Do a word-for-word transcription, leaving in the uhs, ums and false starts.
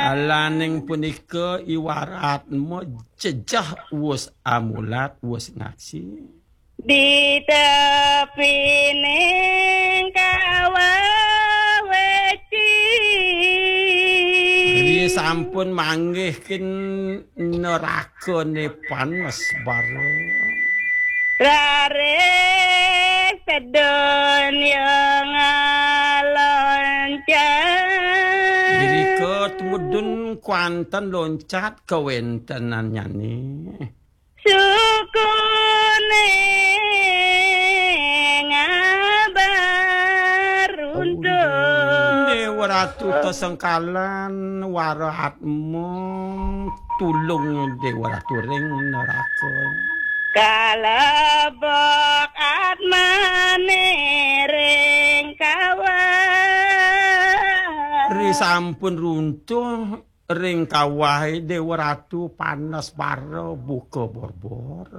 Alaning punika iwaratmu jejeh wus amulat wus ngaksi. Di tepining kawah weci. Ri sampun manggih kin nerakane panes bara. Raris sedun ya ngaloncat. Irika tumudun kuanten loncat kawentenannyane. Sukune ngabar runtuh. Dewa Ratu tesengkalan wara atma tulung Dewa Ratu ring neraka. Kalebok atmane ring kawah. Ri sampun runtuh ring kawahe Dewa Ratu panes bara buka borbor.